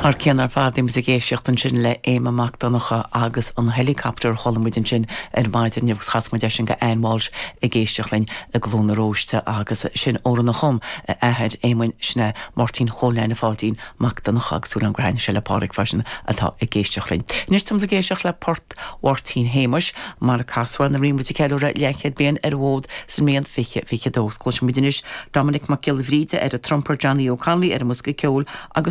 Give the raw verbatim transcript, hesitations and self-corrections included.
Thar cionn ar fad bhí muid ag éisteacht ansin le Éamonn Mac Donncha agus an helicopter chuala muid ansin ar maidin agus chas muid sin go Ann Walsh ag éisteacht linn i gCluain na Róiste agus sin amhrán a chum athair Éamoinn sin Máirtín Chóil Neaine Pháidín Mac Donncha agus súil gur thaithin sé le Pádraig freisin atá ag éisteacht linn. Anois táim ag éisteacht le port Mháirtín Shéamuis mar a casadh nuair a bhí muid ag ceiliúradh leathchéad bliain ar an bhfód sa mbliain fiche fiche dó. Cloisfimid anois Dominic Mac Giolla Bhríde ar an trumper Johnny O'Connolly ar an mbosca ceoil agus